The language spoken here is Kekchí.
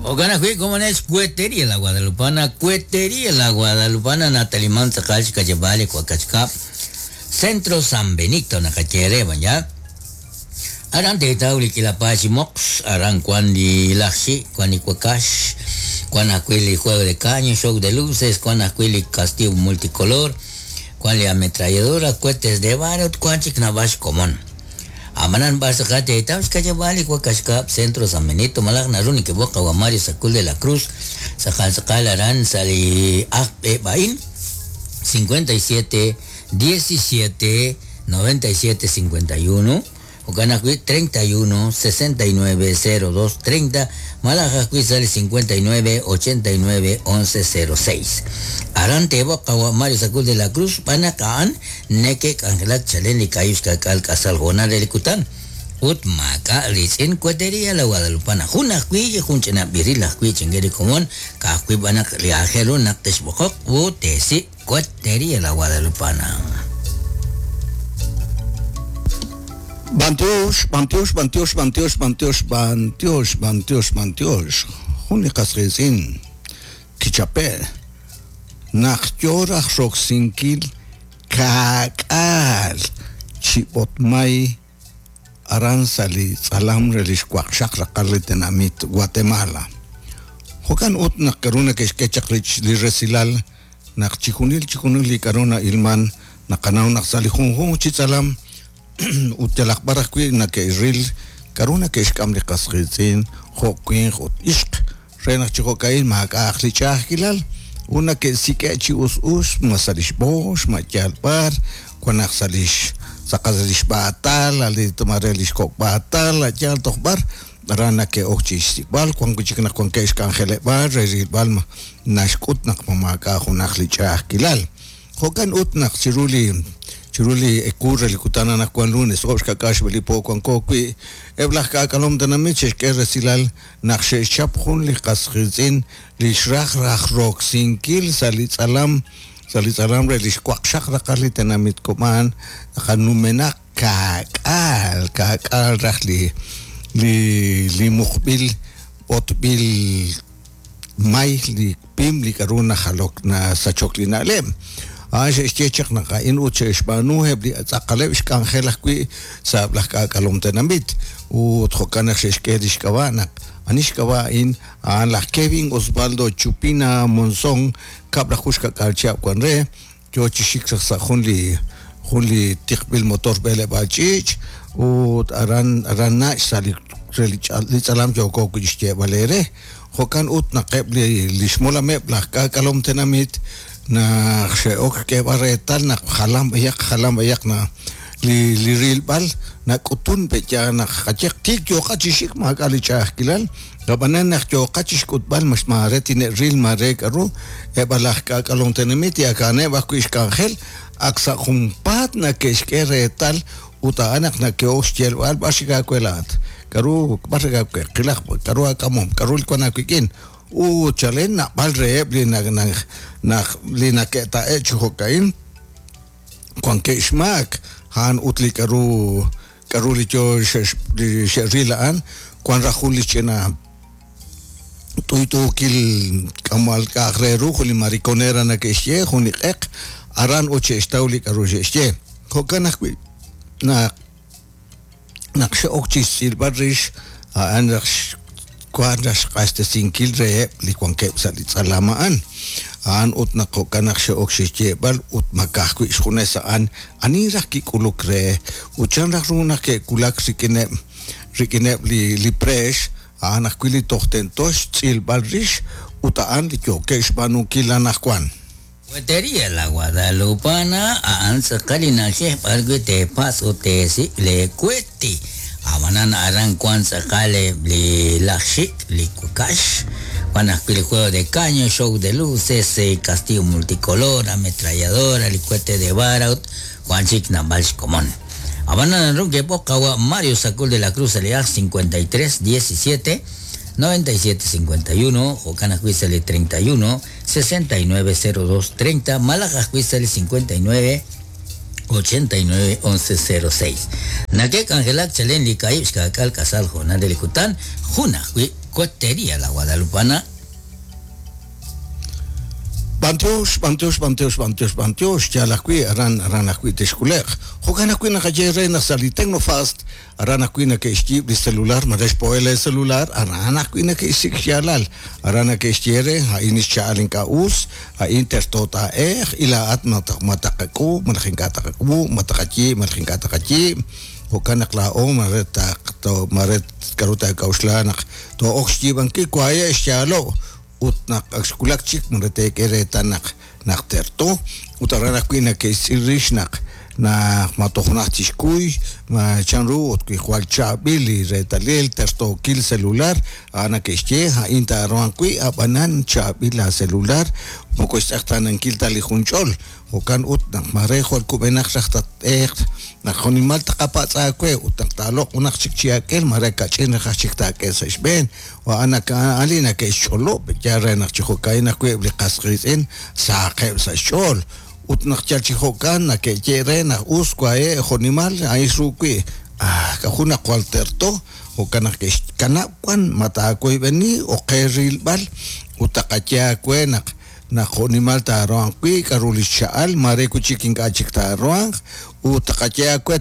Jo'kan ajwi' komonel xweteria la Guadalupana, Cuetería la Guadalupana, Nataliman tz'aqal xka'yab'aal li Wakax Kab', Centro San Benito naqaye re b'an ya. Aran teetaw li k'iila paay chi moqs, aran wan li laj xi', wan li wakax, wan ajwi' li juego de caño, show de luces, wan ajwi' li castillo multicolor, wan li ametralladora, cohetes de vara ut wan chik naab'al xkomon. Ab'anan b'ar tz'aqal teetaw xka'yab'aal li wakax kab' Centro San Benito malaj naru nekeb'oq qawa' Mario Sacul de la Cruz tz'aqal tz'aqal aran sa' li aj b'e a'in 57 17 97 51, jo'kan ajwi' 31 69 02 30, malaj ajwi' sa' li 59 89 11 06. Aran teeb'oq qawa' Mario Sacul de la Cruz xb'aan naq a'an neke'k'anjelak chalen li kaahib' xka'k'aal k'asal hoonal re li kutan ut maak'a' riitz'in Cuetería La Guadalupana. Jun ajwi' jun ch'ina b'iril ajwi' chinge li komon, ka'ajwi' b'an naq li aajel ru naq texb'oqoq ut teesik' Cuetería La Guadalupana. B'antiox, b'antiox, b'antiox, b'antiox, b'antiox, b'antiox, b'antiox, b'antiox. Jun li qas qiitz'in kichape' naq yo raj roksinkil ka'k'aal chi b'otmay aran sa' li tz'alam re li xwaqxaq raqal li tenamit Guatemala. Jo'kan ut naq k'aru nake'xk'e chaq li resilal naq chijunil chijunil li k'aru na'ilman naqanaw naq sa' li junjunq chi tz'alam ut yalaq b'ar ajwi' nake'ril k'aru nake'xk'am li qas qiitz'in jo' winq ut ixq re naq chi jo'ka'in maak'a'aq li ch'a'ajkilal ut nake'sik'e' chi us us ma sa' li xb'oox ma yaal b'ar wan naq sa' li tz'aqal sa' li xb'aatal a li mare li xkok' b'aatal a yaal toj b'ar aran nake'ok chi xsik'b'al wan wi' chik naq wankeb' xk'anjeleb'aal re rilb'al ma naxk'ut naq ma maak'a' junaq li ch'a'ajkilal. Jo'kan ut naq chiru li chiru li ewu re li kutan anaqwan lunes oob' xka'k'aal xb'e li po wanko wi', eb' laj k'aak'alom tenamit xe'xk'e resilal naq xe'xchap jun li qas qiitz'in li xraj raj roksinkil sa' li tz'alam sa' li tz'alam re li xwaqxaq raqal li tenamit Kob'an, numenaq ka'k'aal ka'k'aal raj li li li muqb'il b'otb'il may li pim li k'aru najalok nasachok li na'leb'. A'an xe'xye chaq naq a'in ut xe'xb'aanu eb' li tz'aqaleb' xk'anjel ajwi' sa' eb' laj k'aak'alom tenamit. Ut jo'kan naq xe'xk'e li xk'ab'a' naq ani xk'ab'a' a'in a'an laj Kevin Osvaldo Chupina Monzón kab'laju xka'k'aal chihab' wan re, yo chi xik chaq sa' jun li jun li tiqb'il motor b'eleb'aal ch'iich' ut aran aran nach' sa' li re li li tz'alam yooko wi' xyeeb'al eere. Jo'kan ut naq eb' li li xmolameb' laj k'aak'alom tenamit naq xe'ok xk'eeb'al reetal naq jalan b'ayaq jalan b'ayaq na li li rilb'al nak'utun pe' yaal naq qayehaq tiik yooqa chi xik maak'a' li ch'a'ajkilal Ab'anan naq yooqa chi xk'utb'al maare tine'ril maare k'aru, eb' laj k'aak'alom tenamit ak a'aneb' ajwi' xk'anjel, ak sa' junpaat nake'xk'e reetal ut a'an naq nake'ok xyeelb'al b'ar xik aawe laa'at, k'aru b'ar xik aawe, qilaq k'aru aak'amom, k'aru li wank aawik'in ut chalen naab'al reheb' li naq li nake'ta'e' chi jo'ka'in wankeb' xmaak a'an ut li k'aru K'aru li yo li xe'ril a'an? Wank raj jun li ch'ina t'uyt'uukil k'amal k'a'aq re ru, jun li mariconera nake'xye, jun li q'eq, aran ut xe'xtaw li k'aru xe'xye. Jo'kan ajwi' naq naq xe'ok chi xtz'ilb'al rix a'an raj Wank raj xq'axtesinkil reheb' li wankeb' sa' li tz'alam a'an. A'an ut naq jo'kan naq xe'ok xyeeb'al ut ma ka'ajwi' xjunes a'an ani raj kik'uluk re ut chan raj ru naq ke'wulak rik'ineb' rik'ineb' li li preex, a'an ajwi' li toj tento xtz'ilb'al rix ut a'an li yookeb' xb'aanunkil anaqwan. Cuetería La Guadalupana a'an tz'aqal li na'ajej b'ar wi' teepatz' ut teesik' lee kueti. Ab'anan aran wank tz'aqal eb' li laj xik', li wakax, wan ajwi' li juego de caño, show de luces, castillo multicolor, ametralladora, li cohete de vara ut wan chik naab'al xkomon. Ab'anan naru ke'b'oq qawa' Mario Sacul de la Cruz sa' li ajl 53 17 97 51, jo'kan ajwi' sa' li 31 69 02 30 malaj ajwi' sa' li 59 89 11 06. Nake'k'anjelak chalen li kaahib' xka'k'aal k'asal hoonal re li kutan, jun ajwi' Cuetería La Guadalupana. B'antiox, b'antiox, b'antiox, b'antiox, b'antiox, yaal ajwi' aran, aran ajwi' texk'ule'q. Jo'kan ajwi' naqaye re naq sa' li Tecnofast, aran ajwi' nake'xyiib' li celular, mare xpo'e le celular, aran ajwi' nake'xsik' xyaalal. Aran nake'xye re, a'in xcha'al ink'a' us, a'in terto taa'eq, y laa'at ma taqak'uub', malaj ink'a' taqak'uub', ma taqayiib', malaj ink'a' taqayiib'. Jo'kan naq laa'o mare taq mare k'aru taak'a'uxla naq too'ok xyiib'ankil waye' xyaalo' ut naq ak xwulak chik mare teek'e reetal naq naq terto ut aran ajwi' nake'xtz'il rix naq naq ma toj najt tixkuy ma chanru ut wi jwal chaab'il li reetalil tertookil celular a'an nake'xye a'in taaruhanq wi' ab'anan chaab'il la celular moko xtz'eqtaanankil ta li junch'ol. Jo'kan ut naq mare jwal kub'enaq raj tat'eeq naq jo'nimal taqapatz' aawe ut naq taaloq' junaq chik chi ak'el mare kach'in raj chik taak'e sa' xb'een. A'an a'an li nake'xch'olob' yaal re naq chi jo'ka'in ajwi' eb' li qas qiitz'in sahaqeb' sa' xch'ool. Ut naq yal chi jo'kan nake'ye re naq us wahe' jo'nimal a'in xru wi'. Ah, k'aju naq jwal terto, jo'kan naq ke'xkanab' wan ma taawoyb'eni o qe rilb'al ut taqaye aawe naq naq jo'nimal taaruhanq wi' k'aru li xcha'al mare wi' chik ink'a' chik taaruhanq ut taqaye aawe.